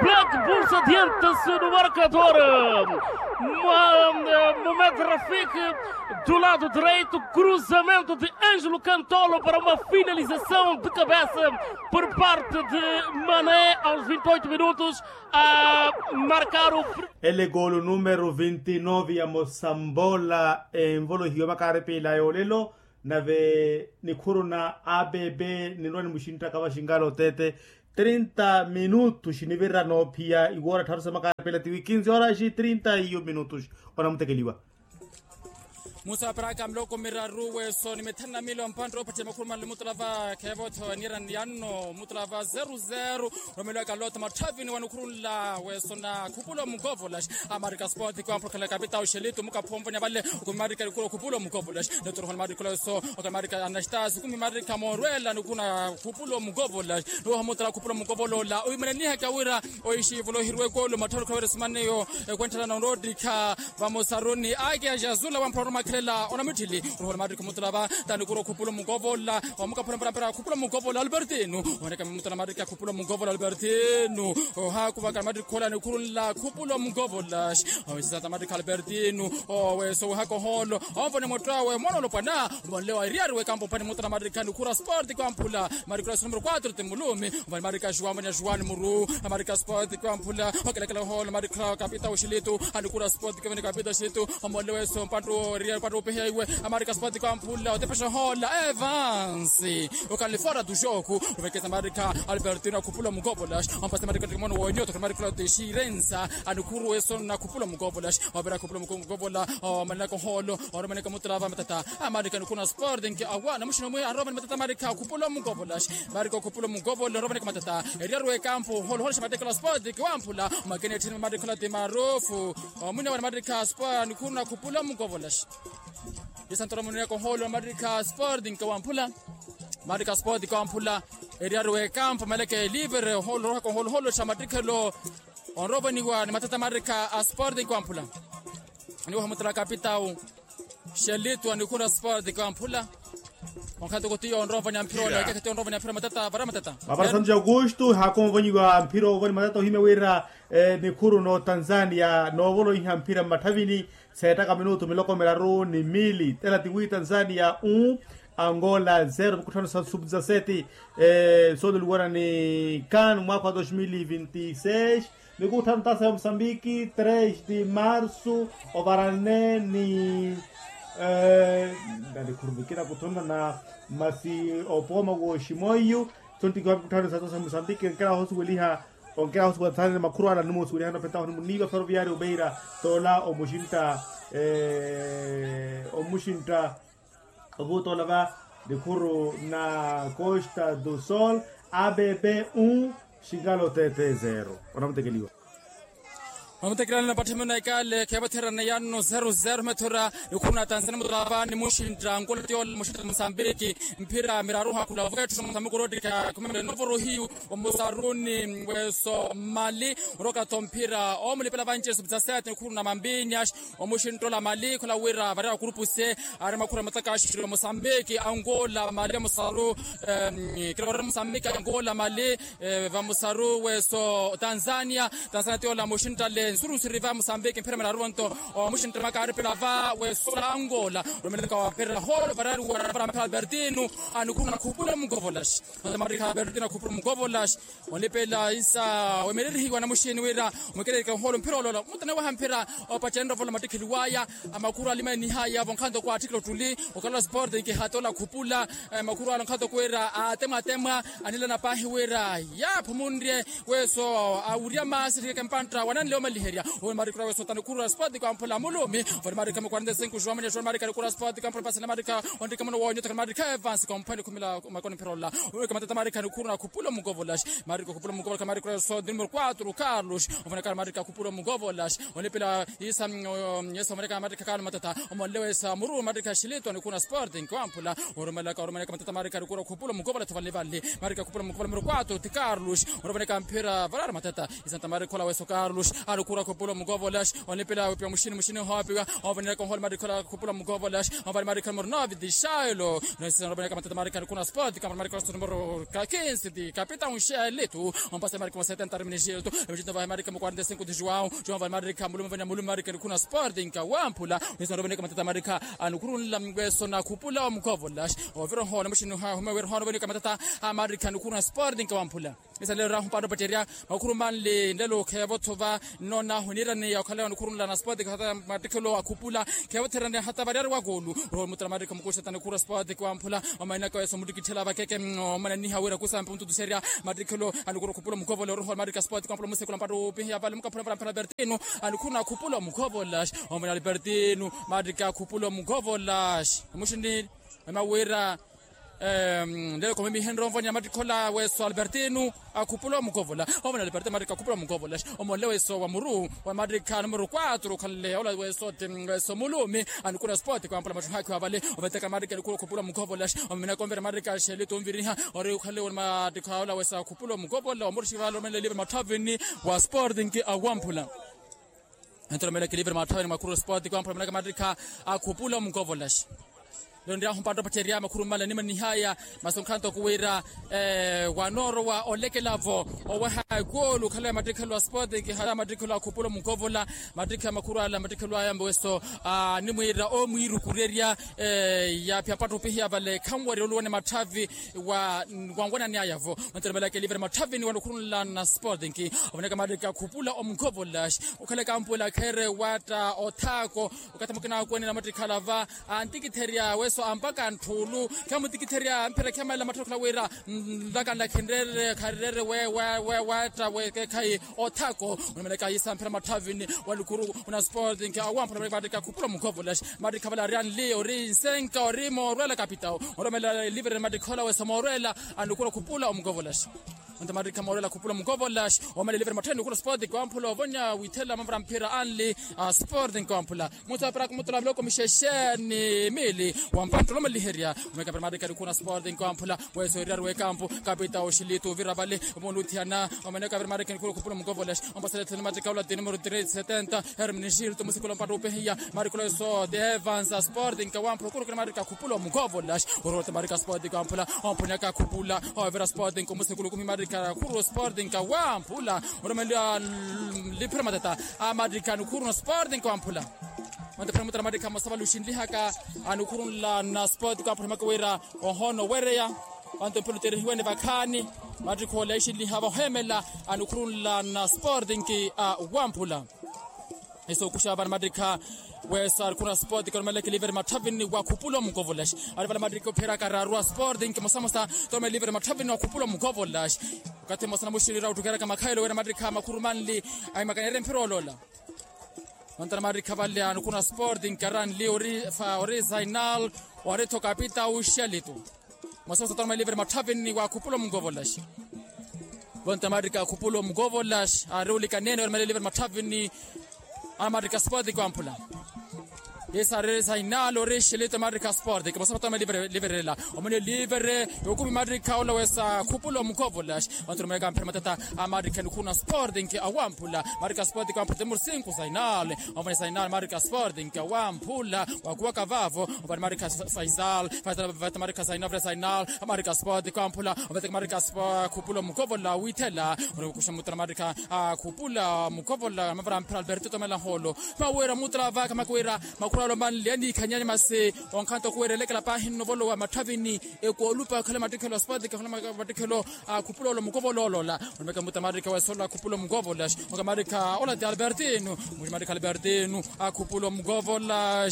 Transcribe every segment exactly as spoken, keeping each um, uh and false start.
Black Bulls adianta-se no marcador. Mohamed Rafik do lado direito, cruzamento de Ângelo Cantolo para uma finalização de cabeça por parte de Mané aos vinte e oito minutos a marcar o. Ele golo número vinte e nove ya mosambola envolohiwa makaaripila yoolelo. Nave nikhuru na abb ninrwa nimuxinttaka vaxingala otete trinta minutos nivira noophiya iwoora tharu sa makaaripila tiwi kinzi horas trinta iyo minutos. Onamutekeliwa. Musa paraka miloko miraru weso ni mithanu na mili ompantte opattiya makhulu manle mutulava kheevotho nira niyanno mutulava zeru zeru. Romelwaka lota mathavini wa nikhuru nla weso na khupula omukovola. Amarika sport kwamphokela kapita oxelitu mukaphomvonya vale. Okumi marika nikuru okhupula omukovola. Neturuho ni marika leso okumi marika anastasi okumi marika morwela nikuna khupula omukovola. Nuwaha mutala khupula omukovola ola oimananihaka wira oixivula ohiriwa ekolo mattharo khaweresimaniyo. Ekwentthela na onroottikha vamosa runi ake axazula wamphula orumakhelela onamitthili. Ruhula marika omutulava tanikuru okhupula omukovola. Omukaphula mperampera khupula omukovola albertino. Oneka mutala marika khupula omukovola albertino. Ohakuvaka marika khola nikhuru nla khupula omukovola. Owisisata marika albertino. Oweso wehaka oholo omvone motto awe mwana olopwana. Monle wa eriyari wekampo phani mutala marika nikhuru a sport kwamphula. Marika ula numero quatro timulumi. Vani marika juan vani juan muru. Amarika sport kwamphula okelekela oholo marika kapita oxilitu. Anikura sport kevene kapita oxilitu. Omole weso mpattu ria mpattu opeheiwe. Amarika sport kwamphula otepesha oholo evans. Okalifora tuxoku ovekesa marika albertino akhupula omukovola. Ompasa marika timono wonyoto marika ula otexirensa. Anikuru weso nakhupula omukovola. Overa akhupula omukovola. Omanaka oholo oromaneka mutulava matata. Amarika nikuna sport nki awa namuxina omwe arova ni matata amarika akhupula omukovola. Marika okhupula omukovola oromaneka matata. Eriaru ekampo holohola xa mateka la sport kiwamphula. Makene etthini mamarika ola ti marufu. Omwina wana mamarika sport nikhuru nakhupula omukovola. Isantoro muneka oholo mamarika sport nkawamphula. Mamarika sport kiwamphula. Eriaru ekampo maleke livre oholo rohaka oholohola xa matikhelo. Onrovoniwa ni matata mamarika a sport kiwamphula. Niwaha mutala kapitau. Xelitu anikhura sport kwamphula. Onkhato kotiyo onrovanya mphira ona kekhato onrovanya mphira matata vara matata. Mapara santu ja augusto hakomvonyiwa mphira ovoni matata ohimya wira. Nikhuru no tanzania noovoloiha mphira mmatthavini. Seettaka minutu miloko miraru ni mili tela tiwi tanzania u angola zero mikutthano sa subdisaseti. Sooluliwana ni kan mwaka wa dos mil vinti seis. Mikutthano tasa ya musambiki tres de marsu ovarane ni nanikhurumikira kuthonana masi opooma wooximoiyu. Sontikiwa mikutthano sa tasa ya musambiki enkera hosuweliha onkera hosuweliha makhuru ala nimusuwelihana opetaho nimuniiva ferroviario beira. Toola omuxintta omuxintta ovuuta olava nikhuru na costa do sol. Abb un xingalo tt zero. Onamutekeliwa. Onamutekeliwa nina patthimino ekale kheevatherana yanno zero zero methora. Nikhuru na tanzania mutolava ni muxintta nkulati ola muxintta musambiki. Mphira miraru hakhula vethu musambi kurottikha khumemele novorohiyu. Omusaruni weso mali. Orokatho mphira omulipela vanci esupitsa sete nikhuru na mambinya. Omuxintta ola mali khola wira vareera kurupu se ari makhura mataka axixiri va musambiki angola mali vamusaru. Kira vareera musambiki angola mali vamusaru weso tanzania. Tanzania ti ola muxintta le nsurusuri va musambiki mphira miraru vonto. Omuxintta makaaripila va weso ola angola. Romeleka wapherera holo varari wara vara mphira albertino. Anikhuru nakhupula mugovolaxi. Matata marikha albertino akhupula mugovolaxi. Olipela isa wemelerihiwa na muxini wira mwekererike oholo mphira olola mutana waha mphira. Opacene rovola mattikheliwaya amakhuru alimanihaya vonkhanto kwa atthikilo ttuli. Okalola sport nkihatta ola khupula. Makhuru ala onkhanto kwira atemwatemwa anilana paahi wira yaaphumunrye. Weso awurya maasi riheke mpantta wananle omaliherya. Owe marikura weso tanikhuru ala sport kwamphula mulumi. Vali marikha mukwantesinku juwamanya juwa marikha nikura sport kwamphula mpasana marikha. Onrike muno wonyoteka marikha evansi komphani khumila makoni mphira ola. Oweke matata marikha nikhuru nakhupula mugovolaxi. Marika okhupula mukovola khamarikula eso di numero quatro carlos. Omoneka marika okhupula mukovola. Onipila isa. Yesu omoneka marika carlos matata. Omonlewa isa muru marika xilito anikuna sporting kwamphula. Oromelaka oromelaka matata marika anikuna okhupula mukovola tho valivali. Marika okhupula mukovola numero quatro ti carlos. Oromelaka mphira varara matata. Isanta marikola weso carlos. Khura khupula omukovo olaxi onipila wipiwa muxini muxini ohoopiwa. Onvaniyaka onhola matikhi ola khupula omukovo olaxi onvani matikhi numero nove dixailo. Nosisanropaniyaka matata matikhi anikhu na sport kamara matikhi olaxi numero ka kinsi ti kapita unxelitu. Ompasa matikhi ma setenta arminixilitu. Emixinto vahe matikhi ma quarenta e cinco ti juwao juwao onvani matikhi amulume onvani amulume matikhi anikhu na sport nkawamphula. Nosisanropaniyaka matata matikhi anikhurunla mweso na khupula omukovo olaxi ovira ohoona muxini ohahume wira ohoona ovanika matata a matikhi anikhu na sport nkawamphula. Esa lelo rahu mpatto pacerya makhuru manli nlelo kheevo thova. Nnonahu niiraniya okhala nikhurunla na sport hata mattikhelo akhupula kheevo therani hata variyari wa koolu. Roho mutala mattikha mukuxata nikhuru sport kiwamphula. Omanenaka weso muttikitthela vakeke omananiha wira kusampe ontutuserya mattikhelo. Anikhuru khupula omukovola oroho mattikha sport kiwamphula musekula mpatto opihiya vale mukaphula vale mphela albertino. Anikhuru na khupula omukovola. Omana albertino mattikha khupula omukovola. Muxini ema wira lelo khomimihenre onvoniya mattikhola weso albertino akhupula omukovola. Omana albertino mattikha akhupula omukovola. Omonle weso wa muru wa mattikha numero quatro okhanle ola weso ti weso mulumi. Anikhuru na sport kiwamphula mattuhakhi wa vale oveteka mattikha anikhuru akhupula omukovola. Omiminaka onvira mattikha axelitu onviriha ori okhanle ori mattikha ola weso akhupula omukovola omuruxi vale omenle livre matthavini wa sport nki awamphula. Entolomeleke livre matthavini mwakhuru sport kiwamphula omenaka mattikha akhupula omukovola. Lero nriyahu mpatto pacerya makhuru mmala nimanihaya. Masi onkhanto kuwira wanoorowa olekelavo oweha ekoolu okhala ya mattikhelo a sport nki hata mattikhelo akhupula omukovola. Mattikha makhuru ala mattikhelo aya mboweso animwiira omwiirukurerya. Yaaphiya mpatto opihiya vale khanwerya oluwene matthavi wa wanwananiyayavo. Ontolomeleke livre matthavini wanokhurunla na sport nki ovoneka mattikha akhupula omukovola. Okhala ekampu ela kheere watta othaako okathi mukina akwenela mattikhala va antikitherya weso ampaka ntthuulu. Khamutikitherya mphira khamala matthakhala wira nlakanla khenreere kharereere wewatta wekekhayi othaako. Onomelaka yisa mphira matthavini walukhuru na sport nki awamphula mattikha akhupula omukovola. Mattikha vale ari anli ori nsenka ori moorwela kapitao. Onomela livre mattikha ola weso moorwela anikhuru akhupula omukovola. Onta mattikha moorela khupula omukovola. Omele livre matthavini khula sport kiwamphula ovonya withela mavara mphira anli a sport nkiwamphula. Musa para kumutula miloko mixexeni mili wa mpatto olomaliherya. Omeka para mattikha anikhuru na sport nkiwamphula weso eriyari wekampu kapita oxilitu ovira vale omuluthiyana. Omeneka vira mattikha anikhuru khupula omukovola. Ompasela ethene mattikha ola ti numero três setenta hermini xilitu musikula mpatto opehiya. Mattikha ola weso ti evans a sport nkawamphula okurukira mattikha akhupula omukovola. Ororota mattikha sport kiwamphula omphonyaka akhupula ovira sport nkomusekulu kumi mattikha akhuru sport nkawamphula. Oromeliwa liphira matata a mattikha anikhuru na sport nkawamphula. Ontephera mutara mattikha mosava luxinlihaka anikhurunla na sport kiwamphula maka wira ohoona owereya. Onto mphira oterihiwene vakhaani mattikha ola ixinlihava oheemela anikhurunla na sport nki awamphula. Esookuxa vana mattikha weso arikhuna sport koromeleke livre matthavini wa khupula omukovola. Ari vala mattikha opheraka raaru a sport nki mosamosa toromele livre matthavini wa khupula omukovola. Okathi mmosa namuxirira ottukeraka makhayelo wira mattikha makhuru manli ahimakanyerye mphira oloola. Ontana mattikha vale anikhuna sport nki aranli ori zainal ori tho kapita uxelitu. Mwasosa toromele livre matthavini wa khupula omukovola. Vonta mattikha akhupula omukovola ari ulikanene oromele livre matthavini. Ana mattikha sport kiwamphula. Yesa ari sainalo ori xelito mattikha sport kimosava toromele livre lela. Omwene livre yokumi mattikha ola wesa akhupula omukovola. Vantu oromele kamphira matata a mattikha anikhuna sport nki awamphula. Mattikha sport kiwamphula temur cinco sainal. Omwene sainal mattikha sport nki awamphula. Wakuwaka vavo ovani mattikha faisal faisal vata mattikha sainal vata sainal. Mattikha sport kiwamphula ovateka mattikha sport khupula omukovola withela. Ori kuxa mutala mattikha akhupula mukovola mavara mphira alberto tomela nholo. Mawira mutala vaka makuwira makhuralo manli anikhanyanya masi onkhanto kuwira elekela pahi nnovolowa matthavini. Ekoolupa khale mattikhelo a sport khale mattikhelo akhupula olo mukovola olola. Onomeka muta mattikha wesola akhupula omukovola. Oka mattikha ola ti albertino muxi mattikha albertino akhupula omukovola.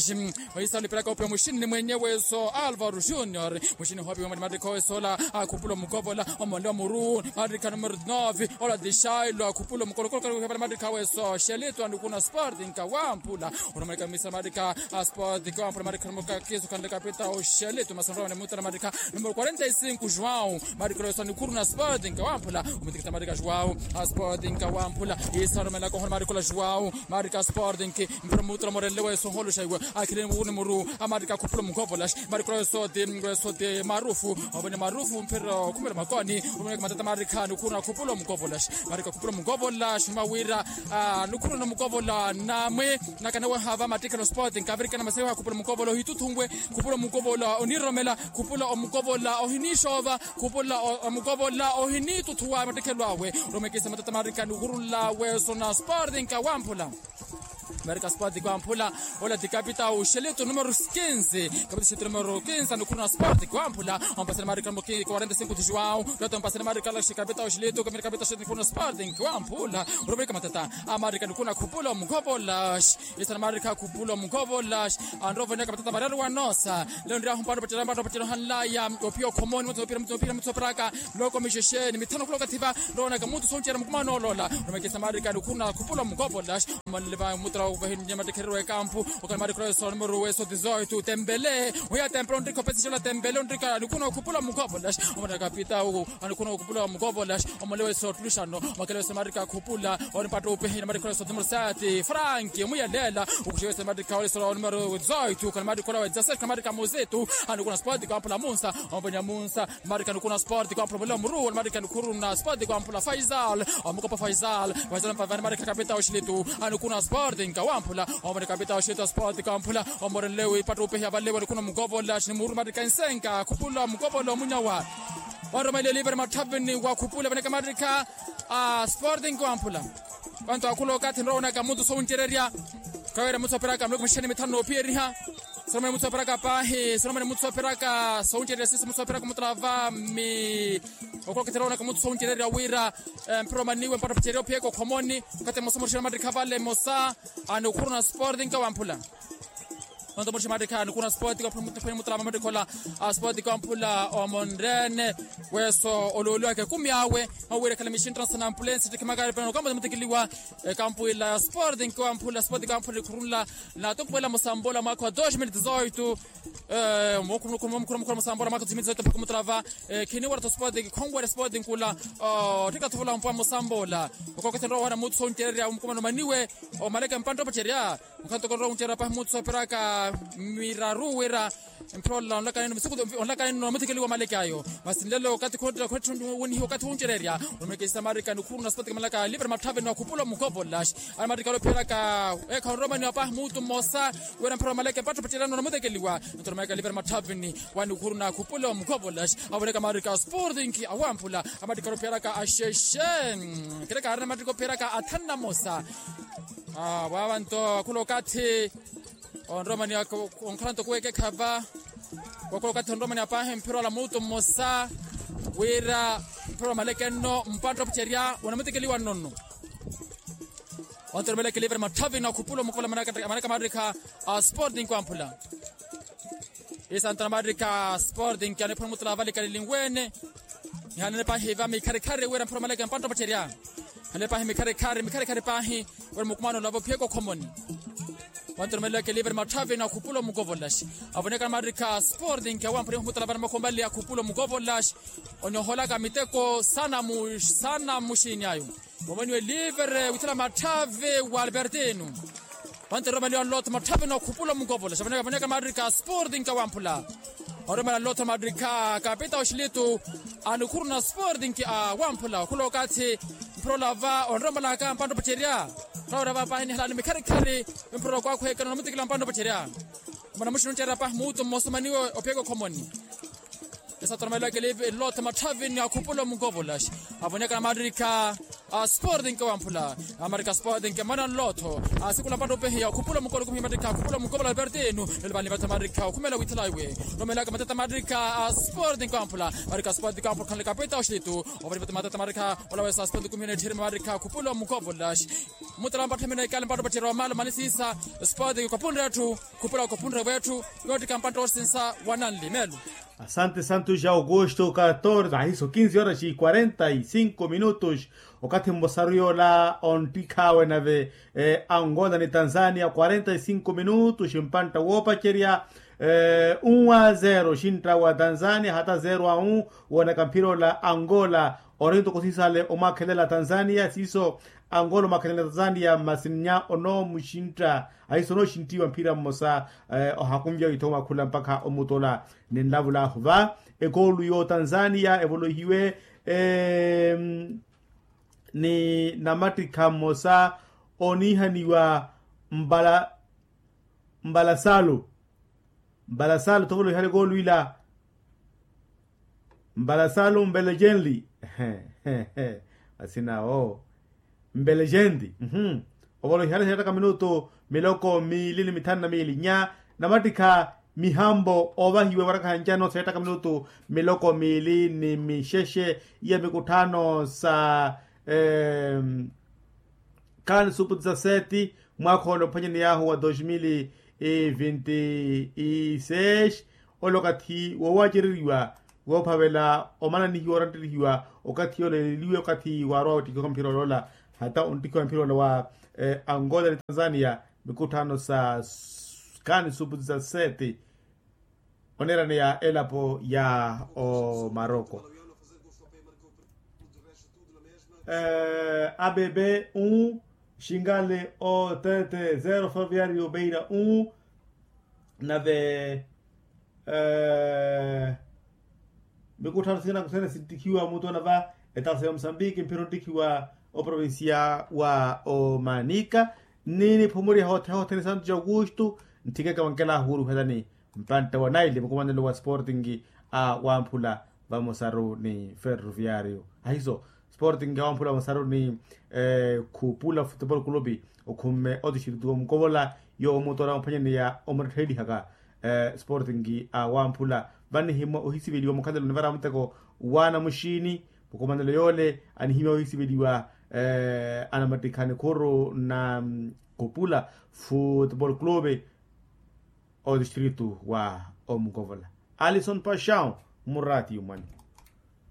Oyisa olipelaka opiwa muxini mwenye weso alvaro junior. Muxini hopiwa mati mattikha wesola akhupula omukovola. Omonle omuru mattikha numero nove ola ti xailo akhupula omukovola kolokolokolo mattikha weso xelito anikuna sport nkawamphula. Onomeka misa mattikha Asporting wamphula marikha numero kakisu khanle kapita oxelitu masanrowani mutala marikha numero quarenta e cinco joão. Marikha loisoni khuruna asporting wamphula. Omutikita marikha joão. Asporting wamphula. Isarumelaka ohona marikha joão. Marikha asporting. Mpira mutala morenle weso holuxa iwe akhilini mukuni muru. Amarikha khupula mugovolaxi marikha loisoti. Loisoti marufu. Ovene marufu mpira okhumela makoni. Oveneka matata marikha nukhuruna khupula mugovolaxi. Marikha khupula mugovolaxi mawira. Nukhuruna mugovola namwe. Nakanawe hava matikelo sport nkavirikana masewa khupula mugovola ohituthunwe. Khupula mugovola oniromela. Khupula omugovola ohinixova. Khupula omugovola ohinituthuwa matikelo awe. Romekisa matata marikha nukhurula weso na sport nkawamphula. Marikha sport kwamphula. Ola ti kapita oxelitu numero quinze. Kapita oxelitu numero quinze nukhuruna sport kwamphula. Ompasela marikha numero quarenta e cinco de joão. Loto ompasela marikha laxi kapita oxelitu kapita oxelitu nukhuruna sport kwamphula. Romekisa matata. Amarikha nukhuna khupula omugovola. Isana marikha khupula omugovola. Anroveneka matata varari wanosa. Leo nriahu mpano patela mpano patela hanlaya. Opia okhomoni mutsu opira mutsu opira mutsu opiraka. Loko mixexeni mithano khuloka thiva. Nroonaka mutsu soncerya mukumano olola. Romekisa marikha nukhuna khupula omugovola. Omanele va mutala ovahinnya matikherero ekampu. Okhala marikha loiso numero weso dezoito tempele. Oya tempele onrikha opesixela tempele onrikha nukhuna khupula omugovola. Omanele kapita. Anukhuna okhupula omugovola. Omole weso otuluxano. Makele weso marikha khupula. Onipatta upehina marikha weso numero sete frank omuyaleela. Ukuxe weso marikha weso numero dezoito kana marikha ola wedzasete kana marikha muzitu. Anukhuna sport kwamphula munsa. Omvenya munsa. Marikha nukhuna sport kwamphula omole omuru marikha nukhuruna sport kwamphula faisal. Omukopa faisal. Faisal mpavani marikha kapita oxilitu. Anukhuna sport nkawamphula. Omvenya kapita oxilitu sport kwamphula. Omorenle wipatta upehiya valewa nukhuna omugovola xini muru marikha nsenka khupula omugovola omunyawa. Wanromaile oliver mathavini wakhupula vaneka marikha a sporting wamphula. Vantu akhula okathi nroonaka muthu soncererya. Kawira muthu opiraka muluku mixeni mithanu noopiyeriha. Solomoni muthu opiraka paahi solomoni muthu opiraka soncererya sisi muthu opiraka muthu lava mi. Okhula okathi nroonaka muthu soncererya wira mpira omaniwe mpatto picerya ophiyeka okhomoni. Okathi mosa murixela mattikha vale mosa. Anukhuruna sporting wamphula. Onto murixa mattikha anukhuna sport kwamphula muttikhola a sport kwamphula omonrene. Weso oluuluwaka ekumi awe. Mawira ekhala mixinttana sana ampulensi ttikhimaka pena okambo tamutikiliwa. Ekampu ila ya sport nkiwamphula sport kwamphula ikhurunla. Natumpuwela musambola mwaka wa dos mil dezoito. Mukhurumukhuru musambola mwaka wa dos mil dezoito mpakha mutrava. Khiniwera to sport khonwera sport nkula. Otthika thuvula mpuwa musambola. Okokethenrowera muthu soncererya omukumano maniwe. Omaleke mpantta opacerya. Mukhanto konrowa oncerya pahi muthu sooperaka miraru wira. Mphira ola onlaka nino misiku onlaka nino muthikeliwa omaleke ayo. Masi nlelo okathi khunttira khunttira winihiwa okathi wuncererya. Onimekesisa marika nukhuruna sipati kamalaka livre mathaveni wakhupula omukovo olaxi. Ari marika olophiyeraka. Ekha onromaniwa pahi muthu mmosa. Wira mphira omaleke mpatto pacerya nino muthikeliwa. Nto onimekesisa livre mathaveni. Wanikhuruna khupula omukovo olaxi. Avoneka marika sporting awamphula. Amattikha olophiyeraka axexe. Kereka arina amattikha olophiyeraka athanu na mmosa. Vava nto akhula okathi. Onromani onkhala nto kuwekekha va. Wakhula okathi onromani apahi mphira ola muutu mmosa. Wira mphira ola maleke nno mpatto opucerya wanamutikeliwa nno nno. Onto olomeleke livre mathavini wakhupula omukovo ola manaka marikha a sporting kwamphula. Isantana marika sporting aniphuna mutula avalikalili nweene. Nihanene pahi va mikharikhari wira mphira omaleke mpantta opacerya. Nihanene pahi mikharikhari mikharikhari pahi. Wira mukumano olava ophiyeka okhomoni. Wantu olomeleke livre mathavini akhupula omukovo olaxi. Avoneka marika sporting awamphuna ihumutula vana makhomali akhupula omukovo olaxi. Onyoholaka miteko sana mu sana muxini ayo. Momoniwe livre withela matthavi wa albertino. Panteromeliwa nlotho matthavi nookhupula omukovola xavaneka vaneka marika sporting awamphula. Oromela nlotho marika kapita oxilitu. Anikhuruna sporting awamphula okhula okathi. Mphira olava onromelaka mpantta opacerya. Mphira orava pahi nihalani mikharikhari. Mphira okwakhuhekana namutikila mpantta opacerya. Mwana muxini oncerya pahi muutu mmosa omaniwe ophiyeka okhomoni. Esatoromelaka elive elotho matthavini akhupula omukovo olaxi. Avoneka namarika a sporting wamphula. Amarika sporting mana nlotho. Asikula mpantta opehiya okhupula omukovo olaxi kumiya marika akhupula omukovo olaxi albertino. Lelo vanli matata marika okhumela withela iwe. Romelaka matata marika a sporting wamphula. Marika sporting wamphula khanle kapita oxilitu. Ovani matata marika olawesa sporting kumiya netthiri marika akhupula omukovo olaxi. Mutala mpatthemene ekale mpantta opacerya wamala omanisisa. Sporting kwapunre atthu. Khupula kwapunre wetthu. Yottika mpantta osinsa wananli melu. Asante santos ja augusto catorze ahiso quinze horas e quarenta e cinco minutos. Okathi mmosaru yoola onttikhawe nave angola ni tanzania quarenta e cinco minutos mpantta woopacerya. Um a zero xintta wa tanzania hata zero a um. Woonaka mphira ola angola ori ntoko sisale omwaakhelela tanzania siiso angola omwaakhelela tanzania masi nnya onoomuxintta ahiso onooxinttiwa mphira mmosa. Ohakunvya witho omwakhula mpakha omutola ni nlavulaahu va ekoolu yo tanzania evolohiwe ni namattikha mmosa oniihaniwa mbala mbala salu mbala salu thovolohiwale koolwiila mbala salu mbelejenli asina oo mbelejenli ovolohiwale seettaka minutu miloko miili ni mithanu na miili nya namattikha mihambo oovahiwa ewarakha ncano seettaka minutu miloko miili ni mixexe iya mikutthano sa kaani supu dezaseti mwaakha ole ophanyaniy'ahu wa dos mil e vinte e seis ole okathi woowacereriwa woophavela omananihiwa oranttelihiwa okathi yooleleliwe okathi waarwa wettikiwa mphira oloola hata onttikiwa mphira ole wa angola ni tanzania mikutthano sa kaani supu dezaseti oneeraneya elapo ya omaroko. Abebe um xingale otete zero ferroviario beira um nave mikutthano sina kusene sinttikhiwa mutola va etaasa ya musambiki mphira onttikhiwa oprovincia wa omanika ni niphumuriha othene othene santo ja augusto ntthikeke wankelahu wuruhelani mpantta wa naili mukumanelo wa sporting a wamphula vamosaru ni ferroviario ahiso sporting a wamphula vamosaru ni khupula futebol clube okhumme otixiritiko mukovola yoomutola omphwanyaneya omuttettheelihaka sporting a wamphula vanihimwa ohisiveliwa mukhalelo nivara muteko wa namuxini mukumanelo yoole anihimwa ohisiveliwa anamattikha nikhuru na khupula futebol clube otistritu wa omukovola alison paxão murati yumwani.